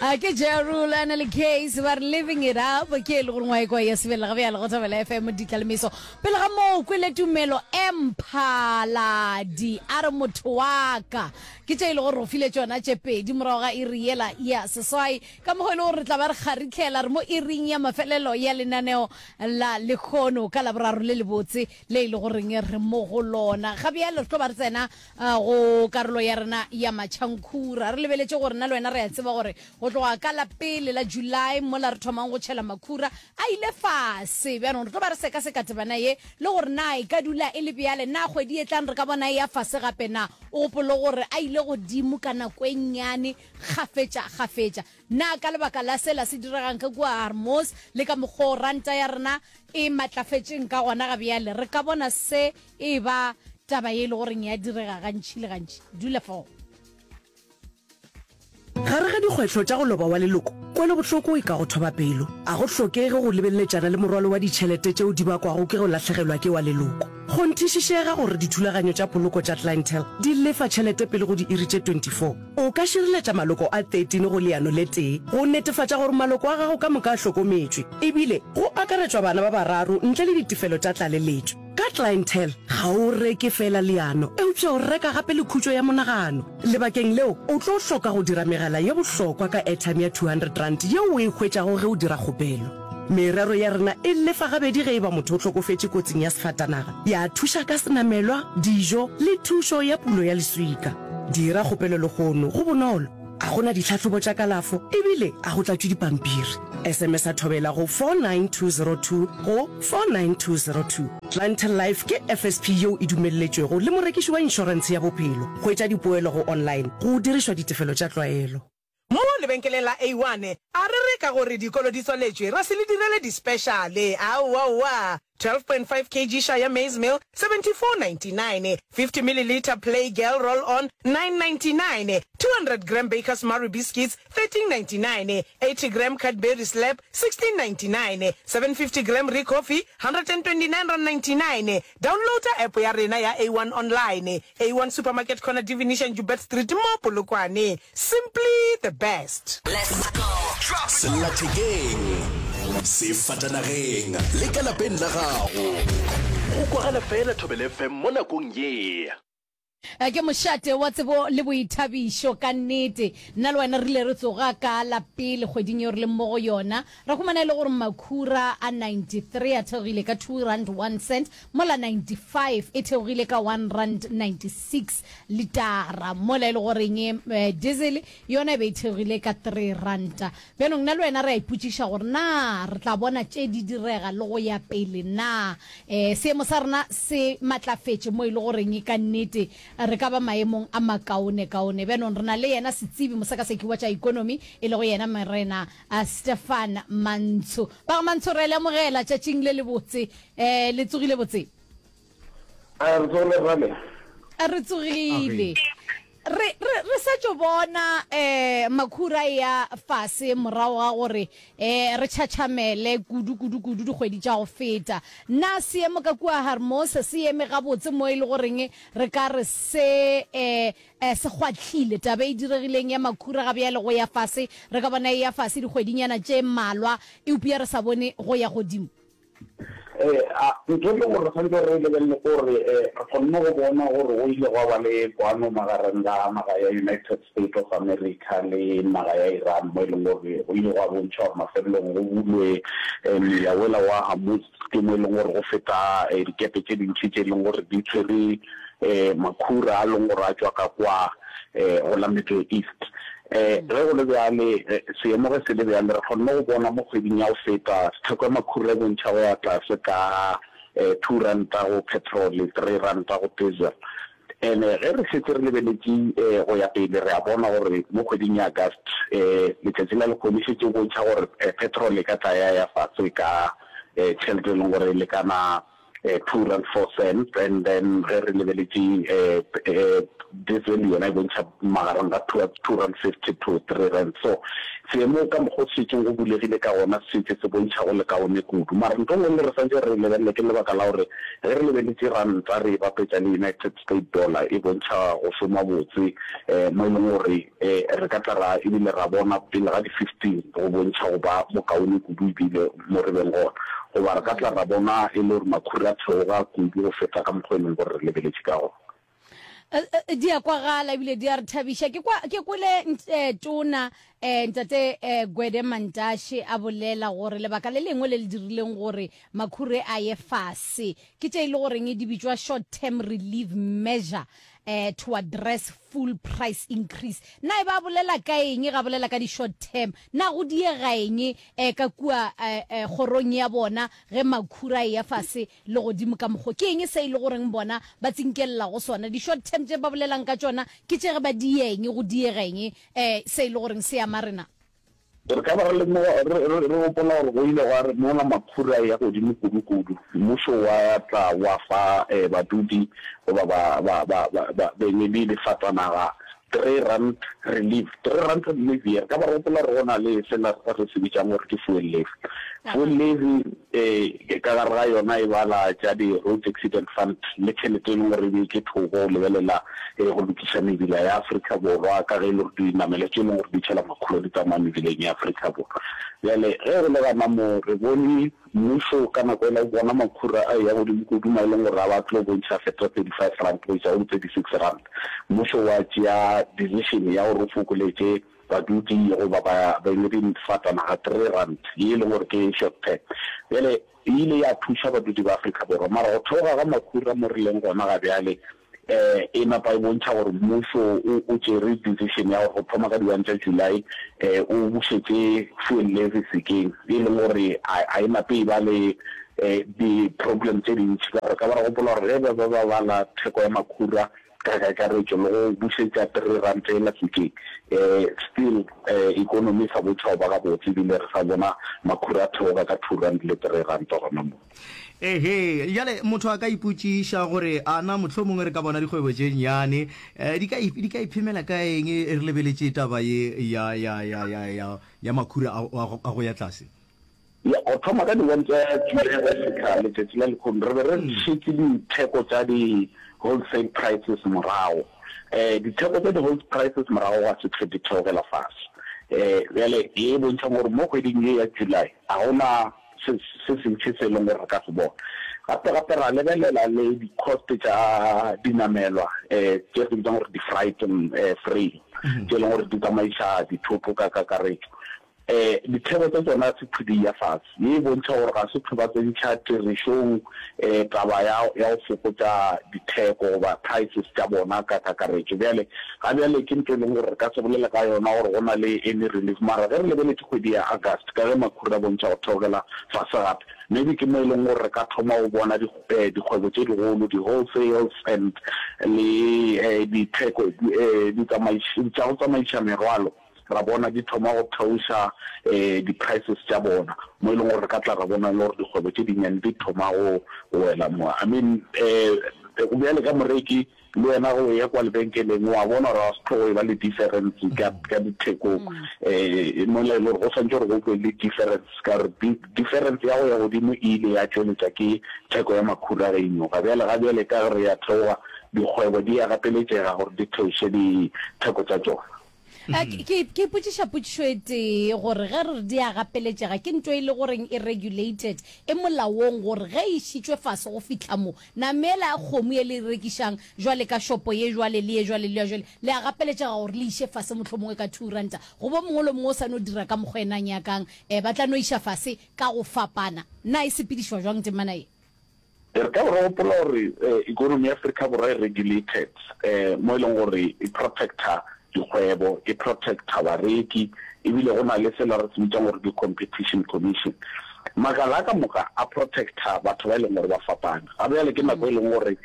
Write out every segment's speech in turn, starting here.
A ke Ja Rule a na le Case ba re living it up ke e le gore ngwae kwa ya sebelela ga bjale go Thobela FM ditla le meso. Pele ga moo kwele tumelo Emphaladi a re motho wa ka ke tše e le gore go file tšona tše pedi morago ga iri yela ya seswai ka mokgwa e le gore re tla ba re kgaritlhela re mo iring ya mafelelo ya lenaneo la lekgono ka laboraro le lebotse le e le goreng re mo go lona. Ga bjale re tlo ba re tsena Go karolo ya rena ya matšhankhura, re lebeletše gore nna le wena re a tseba gore go tloga ka la pele la July mola re thomang go tšhela makhura a ile fase. Bjanong re tlo ba re sekaseka tebana ye le gore na e ka dula e le bjale, na kgwedi e tlang re ka bona e ya fase gape na. O gopole gore a ile godimo ka nako e nnyane kgafetša-kgafetša. Na ka lebaka la sela se diregang ka kua Hormuz le ka mokgwa o ranta ya rena e matlafetšeng ka gona ga bjale, re ka bona se e ba taba ye e le goreng ya direga gantši le gantši? Dula fao. Gare ga dikgwetlho tša go loba wa leloko, kwelobohloko e ka go thoba pelo. A go hlokege go lebeleletšana le morwalo wa ditšhelete tšeo di bakwago ke go lahlegelwa ke wa leloko. Kgonthišišega gore dithulaganyo tša poloko tša Clientele di lefa tšhelete pele go diiri tše 24. O ka šireletša maloko a 13 go leano le tee go netefatša gore maloko a gago ka moka a hlokometšwe, ebile go akaretšwa bana ba bararo ntle le ditefelo tša tlaleletšo. Ka Clientele, ga o reke feela leano, eupša o reka gape le khutšo ya monagano. Lebakeng leo, o tlo hloka go dira megala ye bohlokwa ka airtime ya R200 yeo o e hwetšago ge o dira kgopelo. Merero ya rena e lefa gabedi ge e ba motho o hlokofetše kotsing ya sefatanaga, ya thuša ka senamelwa, dijo le thušo ya pulo ya leswika. Dira kgopelo lehono, go bonolo, a go na ditlhahlobo tša kalafo ebile a go tlatšwe dipampiri. SMS-a Thobela go 49202 go 49202. Clientele Life ke FSP yeo e dumelletšwego le morekiši wa inšorentshe ya bophelo. Hwetša dipoelo go online go dirišwa ditefelo tša tlwaelo. Mo lebenkeleng la A1, a re re ka gore dikolo di tswaletšwe ra se le direle di-speciale. Aowaowa! 12.5 kg Shire maize meal, 74.99, 50 millilitre Play Girl Roll On, 9.99, 200 gram Bakers Marie Biscuits, 13.99, 80 gram Cadbury Slab, 16.99, 750 gram Ricoffy, R129.99. Downloada app ya rena ya A1 Online. A1 Supermarket Corner Divination Joubert Street mo Polokwane. Simply the best. Sellathekeng, sefatanageng le ka lapeng la gago. Go kwagala fela Thobela FM mo nakong ye. Ke mošate wa tsebo le boithabišo ka nnete. Nna le wena re ile re tsoga ka la pele kgweding yeo re leng mo go yona, ra humana e le gore makhura a 93 a theogile ka R2.01 mola 95 e theogile ka R1.96 litara, mola e le goreng diesel yona e be e theogile ka R3. Bjanong nna le wena re a ipotšiša gore na re tla bona tše di direga le go ya pele na. E, seemo sa rena se matlafetše mo e le goreng ka nnete re ka ba maemong a makaonekaone. Bjanong re na le yena setsebi mosekaseki wa tša ekonomi e lego yena Morena Stefan Mantsho. Ba ga Mantsho re a le amogela tšatšing le lebotse. E, le tsogile botse? A re tsogile rale. A re tsogile. Re, re, re sa tšo bona eh, makhura e ya fase morago ga gore eh, re tšhatšhamele kudu, kudu, kudu dikgwedi tša go feta. Na seemo ka kua Harmos se eme gabotse mo e le goreng re ka re se eh, eh, se kgwahlile? Taba e diregileng ya makhura ga bjale go ya fase, re ka bona e ya fase dikgwedinyana tše mmalwa, eupša re sa bone go ya godimo. Ntho e leng gore re tshwanetse re e lebelele ke gore re kgonne go bona gore go ile gwa ba le kwano magareng ga naga ya United States of America le naga ya Iran mo e leng gore go ile gwa bontšha gore mafelelong go bulwe moya wola wa Hormuz ke mo e leng gore go feta dikepe tše dintši tše e leng gore di tshwere makhura a leng gore a tšwa ka kwa go la Middle East. Ge go le bjale, seemo ge se le bjale, re kgonne go bona mo kgweding ya go feta theko ya makhura e bontšha go ya tlase ka R2 go petrol, R3 go diesel. And-e ge re šetše re lebeletše go ya pele, re a bona gore mo kgweding ya August, letšatši la lehono e šetše e bontšha gore petrol e ka tla ya ya fase ka tšhelete e leng gore e lekana. R2.04 and then ge re lebeletše diesel yona e bontšha magareng ga R2.50 to R3. So seemo ka mokgwa o šetšeng go bulegile ka gona se šetše se bontšha go le kaone kudu. Mara ntho e nngwe le re santše re e lebelele ke lebaka la gore ge re lebeletše ranta re e bapetša le United State dollar e bontšha go šoma botse mo e leng gore re ka tla ra ebile ra bona pele ga di 15 go bontšha go ba bokaone kudu ebile mo re beng gona. Goba re ka tla ra bona e le gore makhura a theoga kudu go feta ka mokgwa e leng gore re lebeletše ka gona. Di a kwagala ebile di a re thabiša. Ke kwa, ke kwele Tona Ntate Gwede Mantashe a bolela gore lebaka le lengwe le le dirileng gore makhure a ye fase ke tše e le goreng di bitšwa short term relief measure to address full price increase. Na e ba bolela ka eng ga bolela ka di short term? Na go diega eng ka kua kgorong ya bona ge makhura a eya fase le godimo ka mokgo? Ke eng se e le goreng bona ba tsinkelela go sona? Di short term tše ba bolelang ka tšona ke tše ge ba diya eng, go diega eng se e le goreng se ama rena? Re ka ba re lemoga, re, re, re gopola gore go ile gwa re mola makhura a eya godimo kudu-kudu, mmušo wa tla wa fa badudi goba ba, ba, ba, ba, ba, beng le difatanaga R3 relief. R3 relief ye, re ka ba re gopola gore go na le sela re se bitšang gore ke fuel levy. Fuel levy ka gare ga yona e bala tša di-Road Accident Fund le tšhelete e leng gore e beetšwe thoko go lebelela go lokiša mebila ya Afrika Borwa ka ge e le gore dinamelwa tše e leng gore di tšhela makhura di tsamaya mebileng ya Afrika Borwa. Bjale ge go le gana mo re bone Mmušo ka nako yela o bona makhura a eya godimo kudu mo e leng gore a ba tlo bontšha feta R35 go iša go R36. Mmušo wa tšea decision ya gore o fokoletše badudi goba ba beng difatanaga R3 ye e leng gore ke short term. Bjale e ile ya thuša badudi ba Afrika Borwa mara go theoga ga makhura mo re leng gona ga bjale e napa e bontšha gore mmušo o tšere decision ya gore go thoma ka di one tša July o bušetše fuel levy sekeng, e leng gore ga e nape e ba le di-problem tše dintši ka gore ka ba re gopola gore ge ba be ba bala theko ya makhura ka kakaretšo le go bušetša R3 yela sekeng, still economy e sa bontšha go ba gabotse ebile re sa bona makhura a theoga ka R2 le R3 gona mo. Ehe, bjale motho a ka ipotšiša gore a na mohlomongwe re ka bona dikgwebo tše nnyane eh, di ka di ka iphemela ka eng re lebeletše taba ye ya ya ya ya ya ya makhura a, a, a go ya tlase. Ya, go thoma ka di-one tša July go fihla letšatši la lehono, re be re šetše ditheko tša di-wholesale prices morago. Um ditheko tša di-wholesale prices morago ga se hlwe di theogela fase. Um bjale ye e bontšhang gore mo kgweding ye ya July ga go na se se sentši se e leng gore re ka se bona. Gape gape ra lebelela le di-cost tša dinamelwa um tše re di bitsang gore di-freight frame tše e leng gore di tsamaiša dithoto ka kakaretšo. Um ditheko tša tšona se thwe di ya fase. Ye e bontšha gore ga se thwe ba tsentšha tirišong um taba ya ya go fokotša ditheko goba prices tša bona ka kakaretšo. Bjale ga bjale ke ntho e leng gore re ka se bolele ka yona gore go na le any relief mara ge re lebeletše kgwedi ya August ka ge makhura a bontšha go theogela fase gape maybe ke mo e leng gore re ka thoma go bona dikgwebo tše digolo di-wholesales and le ditheko tša go tsamaiša merwalo ra bona di thoma go theoša di-prices tša bona mo e leng gore re ka tla ra bona e le gore dikgwebo tše dinnyane di thoma go wela mo. I mean bjale ka moreki Le wena ge o eya kwa lebenkeleng o a bona gore ga se tlo go eba le difference ka, ka dithekong. Um mola e le gore go swantše gore go be le difference ka gore difference ya go ya godimo e ile ya tšweletša ke theko ya makhura ge e nyoga. Bjale ga bjale ka ge re ya theoga, dikgwebo di a gapeletšega gore di theoše ditheko tša tšona. Eh, ke ke ipotšiša potšišo e tee gore ge re re di a gapeletšega ke nto e le goreng e regulated e molaong gore ge e išitšwe fase go fihla mo na meela ya kgomo ye le e rekišang jwale ka shopo ye jwale le ye jwale le ya jwale le a gapeletšega gore le iše fase mohlomongwe ka R2 goba o mongwe le o mongwe o sa no dira ka mokgwa ena a nyakang um ba tla no iša fase ka go fapana na e sepedišwa jwang temana ye? Re ka be re gopola gore economy ya Afrika Borwa e regulated mo e leng gore e protecta dikgwebo, e protecta bareki ebile go na le sela re se bitsang gore ke Competition Commission. Makala a ka moka a protecta batho ba e leng gore ba fapana. Ga bjale ke nako e leng gore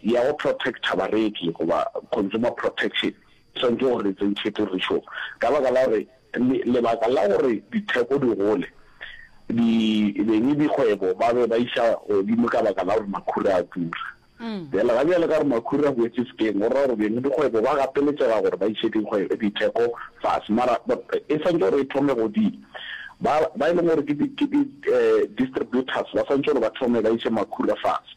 ya go protecta bareki goba consumer protection e swanetše gore e tsentšhe tirišong ka baka la gore lebaka la gore ditheko di gole. Di, beng dikgwebo ba be ba iša godimo ka baka la gore makhura a tura. Bjale ga bjale ka gore makhura a boetše sekeng, go ra gore beng dikgwebo ba gapeletšega gore ba iše dikgwebo, ditheko fase. Mara e swantše gore e thome godimo. Ba, ba e leng gore ke di, ke di distributors ba swantše gore ba thome ba iše makhura fase,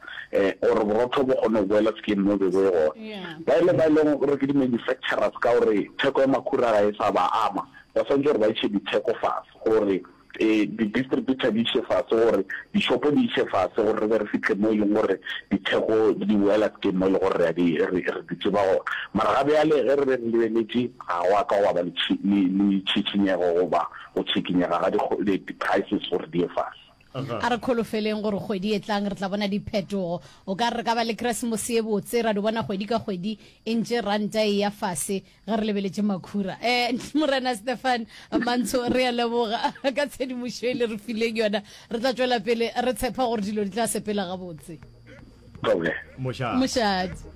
gore borotho bo kgone go boela sekeng mo e bego e gona. Ba e le ba e leng gore ke di manufacturers ka gore theko ya makhura ga e sa ba ama, ba swantše gore ba iše ditheko fase gore Ee, di-distributor di iše fase gore dishopo di iše fase gore re be re fihle mo e leng gore ditheko di boela sekeng mo e leng gore re a di, re, re di tseba gona. Mara ga bjale ge re be re lebeletše ga gwa ka gwa ba le tšhi, le, le tšhitšhinyego goba go tšhikinyega ga di, di-prices gore di ye fase. A re kholofeleng gore kgwedi e tlang re tla bona diphetogo. O ka re re ka ba le Keresemose ye botse ra di bona kgwedi ka kgwedi e ntše ranta e ya fase. Ge re lebeletše makhura. Eh, Morena Stefan Mantsho, re a leboga ka tshedimošo e le re fileng yona. Re tla tšwela pele re tshepa gore dilo di tla sepela gabotse. Thobela. Mošate. Mošate.